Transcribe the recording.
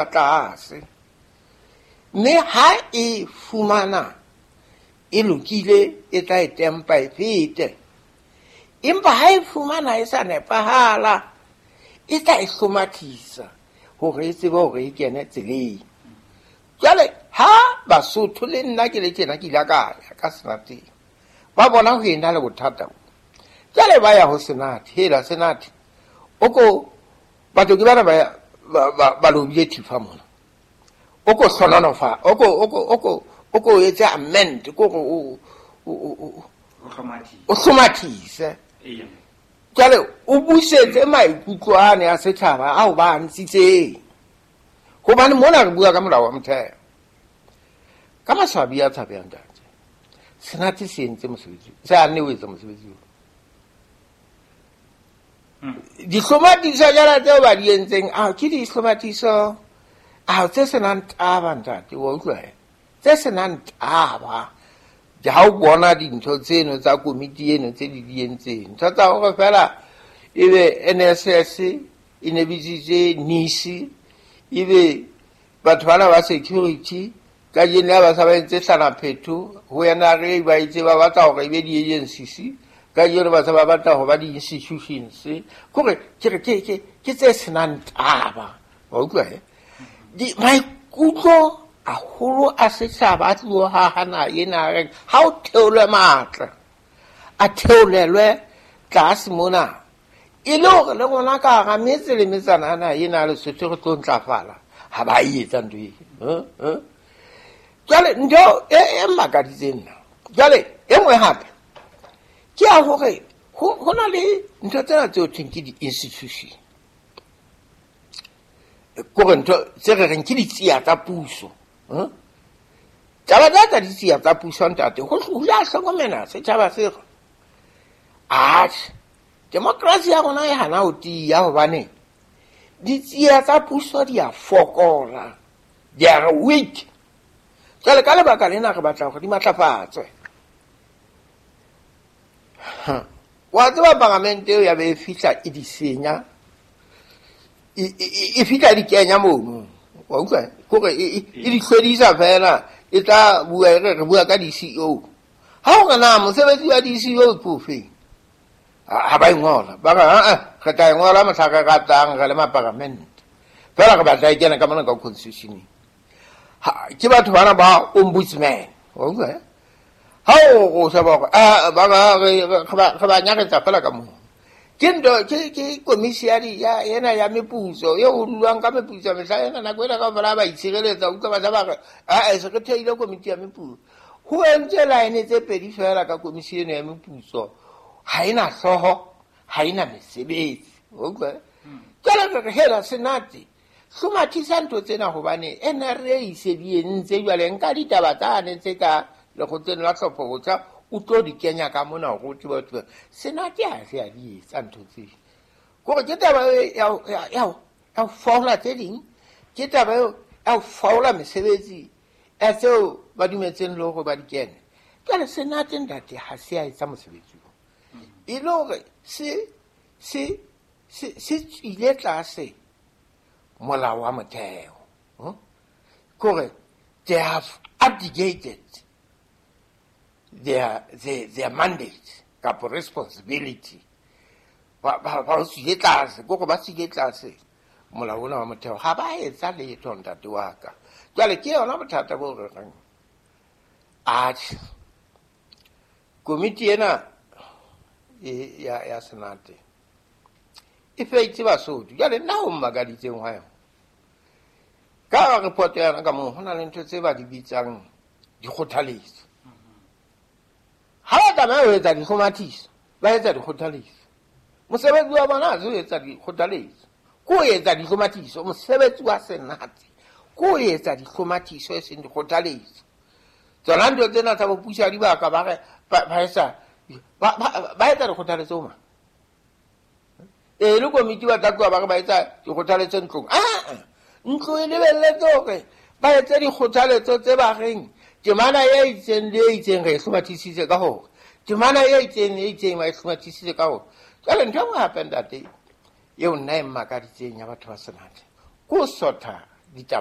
Tlase mme ha e fumana e lokile, e tla e tempa e fete, empa ha e fumana e sa nepahala, e tla e hlomathisa hore e tsebe hore e kene tseleng. Jwale ha Basotho le nna ke le tjena, ke ile ka ya ka senateng, ba bona ho ena le bothata bo. Jwale ba ya ho senate, hela senate o ko batho ke bana ba lobile thifa mona, o ko hlononofa, o ko etse amend, ko gore o hlomathise, jwale o busetse maikutlo ane a setjhaba ao ba a ntshitseng, hobane mona re bua ka molao wa motheo. Ka maswabi a tshabehang, ntate, senate se entse mosebetsi, se anne o etsa mosebetsi o dihlomathiso jala tseo ba di entseng. Ao ke dihlomathiso ao tse senang taba, ntate, wa utlwa? Tse senang taba. Ha o bona dintho tseno tsa komiti eno tse di di entseng, ntho tsa hore fela ebe NSS e ne bitsitse NISI, ebe batho bana ba security kajeno ya ba sa ba entse hlanaphetho ho NRA, ba itse ba batla hore ebe di-agencies, kajeno ba sa ba batla ho ba di-institutions. Kore ke re ke tse senang taba, wa utlwa? Maikutlo haholo a setjhaba a tlo hahana ena reng ha o theolwe matla, a theolelwe tlase mona, e le hore le rona ka hara metse le metsana ana ena Lesotho re tlo ntlafala. Ha ba e etsa ntho e. Jwale ntho e makaditseng nna jwale e nngwe hape ke ya hore ho na le ntho tsena tseo thweng ke di-institution, kore ntho tse re reng ke ditsia tsa puso. Taba tsa ditsia tsa puso, ntate, ho ya hlokomela setjhaba se re atjhe, demokrasi ya rona e hana ho tiya hobane ditsia tsa puso di a fokola, they are weak. Jwale ka lebaka lena re batla hore di matlafatswe. Wa tseba, paramente eo ya be e fihla e di senya, e fihla di kenya mono, wa utlwa? Kore e di hlwedisa fela, e tla bua e re re bua ka di-CEO. Ha hore na mosebetsi wa di-CEO ke ofeng, ha ba e ngola, ba re aa re tla e ngola mohla re ratang re le maparamente, fela re batla e kena ka mona ka constitutioneng. Ke batho bana ba ombudsman, wa utlwa? Ha o sheba hore ba re ba nyaretsa fela ka moo, ke ntho ke komisi ya ena ya meputso eo ho dulwang ka meputso mehla ena, nako ena kaofela ba itshireletsa. Utlwa, batjha ba re aa se re theile komiti ya meputso, ho entswe line tse pedi fela ka komisi eno ya meputso, ha ena hlooho, ha ena mesebetsi, wa utlwa? Jwale re re hela senate, hlomathisa ntho tsena, hobane NRA e se di entse. Jwale nka ditaba tsane tse ka lekgotleng la tlhopho botjha, o tlo di kenya ka mona hore o tsebe ho tseba. Senate ha se a di etsa ntho tseo, kore ke taba ya ho faola tse ding, ke taba eo ya ho faola mesebetsi ya tseo ba dumetseng le hore ba di kene. Jwale senate, ntate, ha se a etsa mosebetsi o e le hore se tswile tlase molao wa motheo, Kore they have abdicated their mandate kapa responsibility, ba tswile tlase, kore ba tswile tlase molao ona wa motheo, ha ba etsa letho, ntate wa ka. Jwale ke yona bothata bo re reng atjhe, komiti ena ya senate e feitse Basotho. Jwale nna ho mmakaditseng hwa yona ka report ya yona ka moo, ho na le ntho tse ba di bitsang dikgothaletso. Ha ba tlameha ho etsa dihlomathiso, ba etsa dikgothaletso. Mosebetsi wa bona ha se ho etsa dikgothaletso, ke ho etsa dihlomathiso. Mosebetsi wa senate ke ho etsa dihlomathiso, e seng dikgothaletso. Tsona ntho tsena tsa bopuso ya dibaka, ba re ba etsa dikgothaletso ma e le komiti, ba tla tloha ba re ba etsa dikgothaletso ntlong. Aa, ntlo e lebelletse hore ba etse dikgothaletso tse ba reng temana e itseng le e itseng re e hlomathisitse ka hore temana e itseng le e itseng ba e hlomathisitse ka hore. Jwale ntho e nngwe hape, ntate, eo nna e mmakaditseng ya batho ba senate ke ho sotha Ditaba.